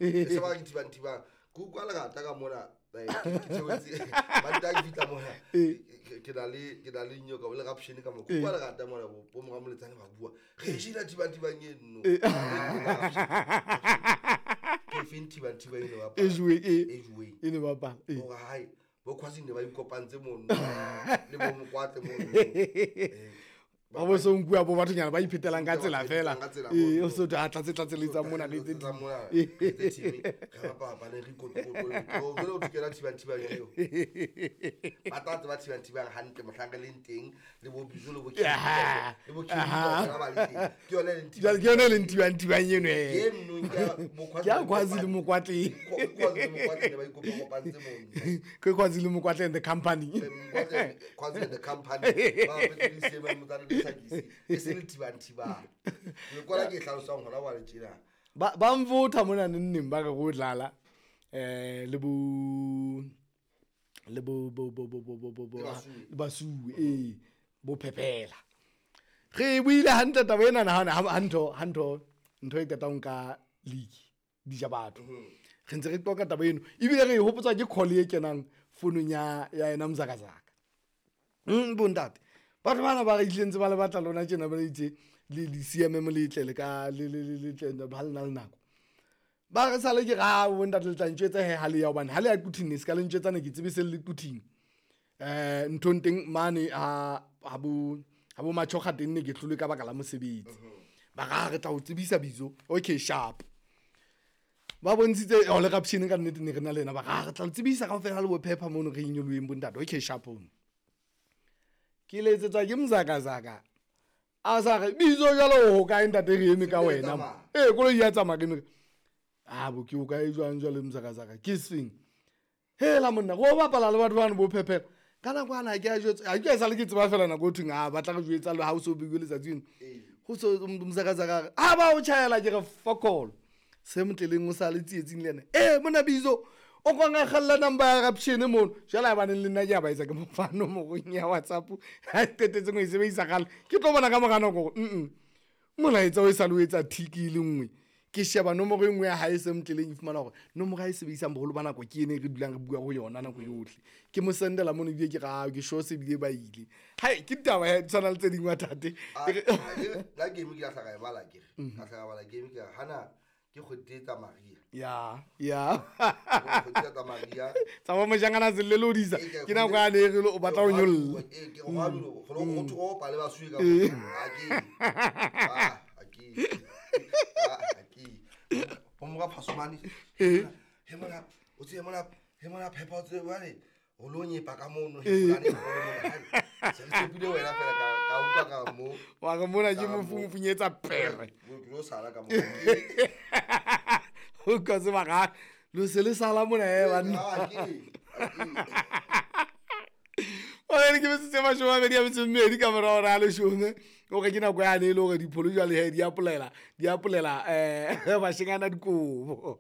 E se ba ke thibang thibang. Ke utlwa lerata ka mona, ke theohetse. Mantaha ke fihla mona, ke na le nyoka le rapshene ka mo. Ke utlwa lerata mona, bo mora Moletsane ba bua. Re jela thibang thibang eno. Ke feng thibang thibang eno bapala? E juweng, ee. E juweng. E ne bapala, ee. Hore hae bo Khwasing ne ba ikopantse mono le bo Mokwatle mono. Ba bo so nkuwa bo bathonyana ba iphetelang ka tsela fela. Ka tsela Ee, mono. o so a tlatse tlatseletsang mona le tse Tsa ding. mona, re tse team, re bapala re ikotokoto. Jwale o thukela thibang thibang eo. Ba tla tseba thibang thibang hantle mohlang re leng teng le bo Bizo le bo Kelly le bo Kelly kaofela ba le teng. Ke yona e leng Jwale ke yona e leng thibang thibang eno e. Eno ke ya bo Ke ya Khwazi le Mokwatleng. Khwazi le Mokwatle ne ba ikopakopantse mono. Ke Khwazi le Mokwatle and the company. Mokwatle, Khwazi and the company. Ba apetse le seemane motsana le tlhakisi. E se le thibang thibang. Le kwala ke e hlalosang hona jwale tjena. Ba mvotha mona neng ba re go dlala le bo bo bo bo bo bo bo bo Le Basuwe. le Basuwe, ee, bo phepela re buile hantle taba ena na ha ntho ntho e qetang ka league di ja batho. Re ntse re qoqa taba eno, ebile re e hopotswa ke call e kenang founung ya yena Mzakazaka. Bontate batho bana ba re itlile ntse ba le batla lona tjena, ba itse le CMM le tle le ka le tle ha le na le nako. Ba re sale ke ra bontate, le tla ntjwetsa he ha le ya, hobane ha le ya Quthing ne se ka le ntjwetsa, ne ke tsebe se le Quthing. Nthong teng mane ha bo Machoga teng ne ke hlolwe ka baka la mosebetsi. Ba ra re tla o tsebisa bitso. Okay, sharp. Ba bontshitse o le rapshene ka nnete ne re na le yena, ba ra re tla le tsebisa kaofela le bo phepha mono re inyoloheng bontate. Okay, sharp. Ke letsetswa ke Mzakazaka a sa re bitso jwalo ho kae ntate, re eme ka wena. Ee, koloi ya tsamaya, ke eme a bo ke o kae jwang jwale Mzakazaka, ke seng hela monna go bapala le batho bano bo phephela ka nako ana ke a jwetsa, ha ke sa le ke tseba fela nako o thweng a batla re jwetsa le ha o so beiwe letsatsi eno go so Mzakazaka a re a ba o tjhaela, ke re fokolo se motleleng o sa le tsietsing le ena. Ee, mona bitso o kwang a kgalla number ya rapshene mono jwale a baneng le nna ke a ba etsa ke mo fa nomorong ya WhatsApp ha qetetseng ho e sebedisa kgale, ke tlo bona ka mora nako hore molaetsa o e sa le o etsa thiki e le nngwe. Ke sheba nomoro e nngwe ya hae se motleleng, e fumana hore nomoro ha e sebedisang boholo ba nako ke ene e re dulang re bua ho yona nako yohle. Ke mo sendela mono, ebile ke ra ke sure se bile ba ile hai ke ditaba ya tshwana le tse ding wa tate. La game ke la hlaka e bala, ke re ka hlaka bala game, ke re hana ke kgwedi tsa Maria. Ya. Kgwedi tsa Maria. Tsa bo mojangana se le lodisa ke nako ya ne re o batla ho nyolla. Ee, ke re go go go pale ba suwe ka a ke a ke a ke bo mora Phasomane he mona o tseye mona he mona phepha o tseye jwale o lo nyepa ka mono he fulane mona se re tshepile wena fela ka utlwa ka mo. Wa re mona ke mofunyetsa pere. Ke lo sala ka mo. O ka se ba ga lo se le sala mona e banna. Ah, ke O re ke metsotso e 28 ka mora hora ya 10, o re ke nako yane e le hore dipholo jwale he di apolela bashengana dikobo.